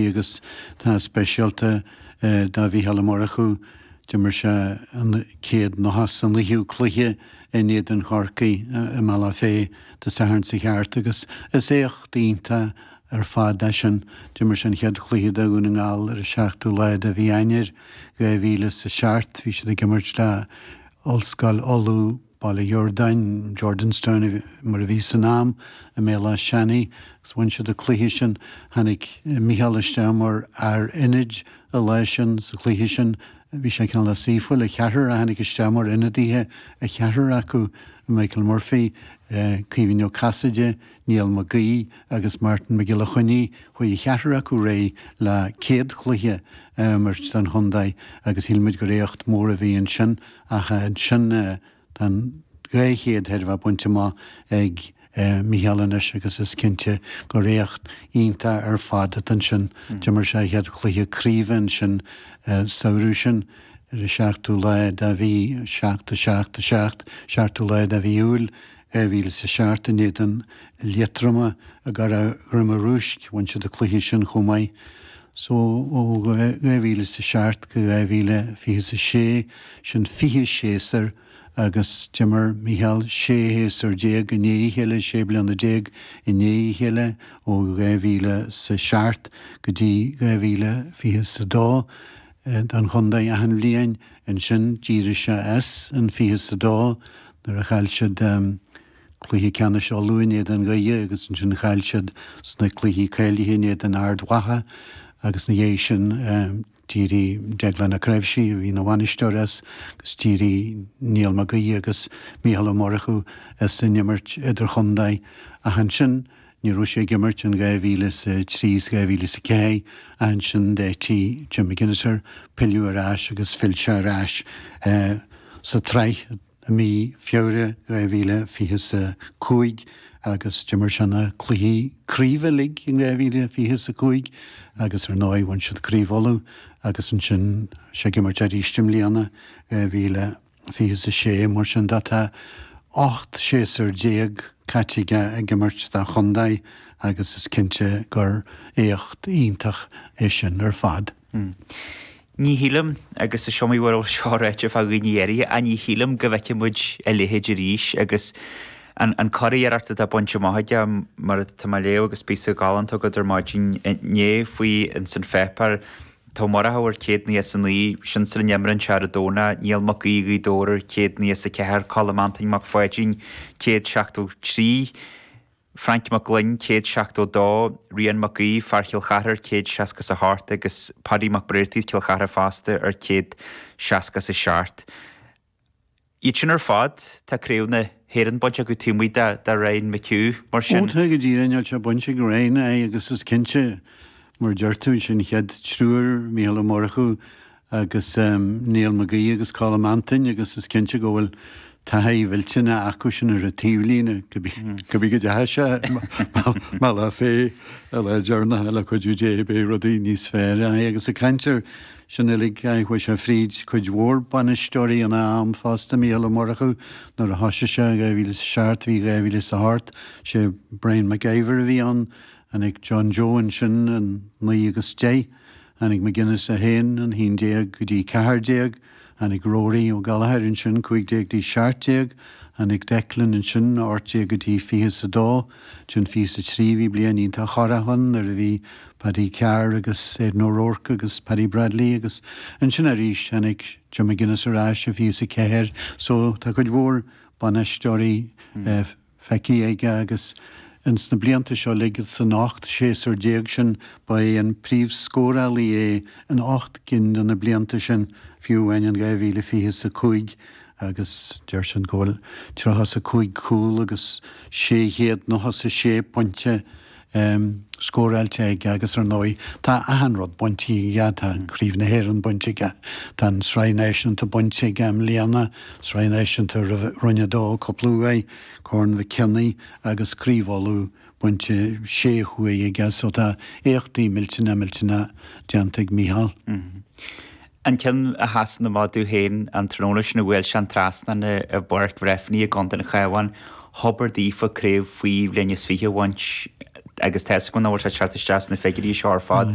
Agus tá speisialta do Mhícheál Ó Murchú, d'imir sé an chéad nócha 's a naoú cluiche in éadan Chorcaí i mBealach Féich Dé Sathairn seo thart agus is éacht iontach ar fad é sin. D'imir sé an chéad chluiche do Dhún na nGall ar an seachtú lá de mhí Eanáir 2007. Bhí siad ag imirt le Ollscoil Uladh. Baile Dhordáin, Jordanstown mar a bhí san am, i mBéal Átha Seanaidh agus bhain siad an cluiche sin. Tháinig Mícheál isteach mar fhear ionaid an lá sin, sa chluiche sin. Bhí sé cineál saoithiúil, an ceathrar a tháinig isteach mar ionadaithe, an ceathrar acu, Michael Murphy, Caoimhín Ó Casaide, Niall Mac Aoidh agus Martin Mac Giolla Chainnigh, chuaigh an cheathrar acu ar aghaidh le céad chluiche a imirt don chontae agus shíl muid gur éacht mór a bhí ansin. Ach ansin tá an 200 chóir a bheith bainte amach ag Mícheál anois agus is cinnte gur éacht iontach ar fad atá ansin. D'imir sé a chéad chluiche craoibhe ansin samhradh sin ar an seachtú lá de mhí 7, 7, 7, seachtú lá de mhí Iúil 2007 in éadan Liatroma i gCurrach Dhroim an Rúisc. Bhain siad an cluiche sin chomh maith. So ó 2007 go 2026, sin 20 séasúr agus d'imir Mícheál 16 shéasúr i ndiaidh a chéile, 16 bliana i ndiaidh a chéile ó 2007 go dtí 2022 don chontae achan bhliain. Ansin d'éirigh sé as in 22 nuair a chaill siad Cluiche Ceannais Uladh in éadan Dhoire agus ansin chaill siad sna cluichí cáilithe in éadan Ard Mhacha agus ina dhiaidh sin d'éirigh Deaglán Ó Cnáimhsí, a bhí ina bhainisteoir, as agus d'éirigh Niall Mac Aoidh agus Mícheál Ó Murchú as an imirt idirchontae. Ach ansin ní raibh sé ag imirt in 2003 is 2004 ach ansin d'áitigh Jim McGuinness air pilleadh ar ais agus phill sé ar ais sa tsraith. i mí Feabhra 2025 agus d'imir sé na cluichí craoibhe uilig in 2025 agus ar ndóigh bhain siad Craobh Uladh agus ansin sé ag imirt arís i mbliana 2026. Mar sin de tá 18 séasúr caite aige ag imirt dá chontae agus is cinnte gur éacht iontach é sin ar fad. Ní shílim, agus is iomaí uair a bhfuil seo ráite fá dhaoine áirithe, ach ní shílim go bhfeicfidh muid a leithéid arís agus an curiarracht atá bainte amach aige, mar atá mé a léamh agus píosa galánta agat ar maidin inné faoi ins an pháipéar, tá Ó Murchú ar 199, sin sula n-imríonn sé ar an Domhnach, Niall Mac Aoidh Ghaoth Dobhair ar 194, Colm Antoin Mac Pháidín 173. Frainc Mac Gloinn, 172, Rian Mac Aoidh, fear Chill Chartha, 168 agus Paddy Mac Bréartaigh as Cill Chartha fosta ar 167. Iad sin ar fad, tá Craobh na hÉireann bainte acu taobh amuigh de Ryan McHugh, mar sin. Ó tá go díreach, níl sé bainte ag Ryan, aye, agus is cinnte, mar a deir tú, sin chéad triúr, Mícheál Ó Murchú, agus Niall Mag Aoidh agus Colm Antoin agus is cinnte go bhfuil taithí mhillteanach acu sin ar an taobhlíne, cibé go dteachaigh sé i mBealach Féich an lá deireanach le cuidiú Dé beidh rudaí níos fearr agus ag caint air sin uilig chuaigh sé fríd cuid mhór bainisteoirí ina am fosta, Mícheál Ó Murchú nuair a thosaigh sé in 2007 bhí 2008 sé Brian McIver a bhí ann, tháinig John Joe ansin in 9 agus 10. Tháinig McGuinness é féin in 11 go dtí 14, tháinig Rory Ó Gallchóir ansin 15 go dtí 17, tháinig Declan ansin 18 go dtí 22, ansin 23 bhí bliain iontach chorrach ann nuair a bhí Paddy Carr agus Aidan O'Rourke agus Paddy Bradley agus ansin arís tháinig Jim McGuinness ar ais i 24 so tá cuid mhór bainisteoirí feicthe aige agus ins na blianta seo uilig, san 18 séasúr sin, ba é an príomhscórálaí é in 8 gcinn de na blianta sin, fiú amháin in 2025 agus deir siad go bhfuil 35 cúl agus 696 pointe scóráilte aige agus ar ndóigh tá achan rud bainte aige, tá Craobh na hÉireann bainte aige, tá an Sraith Náisiúnta bainte aige i mbliana, Sraith Náisiúnta Roinn 2 cúpla uair, Corn Mhic Cionnaith agus Craobh Uladh bainte sé huaire aige so tá éachtaí millteanna millteanna déanta ag Mícheál. An ceann a sheasann amach domh féin, an tráthnóna sin a bhuail sé an trasnán i bPáirc Bhreifne i gContae an Chabháin, hobair daofa craobh faoi bhliain is fiche a bhaint. Agus tá a fhios agam nach bhfuil sé ag teacht isteach sna figiúirí seo ar fad.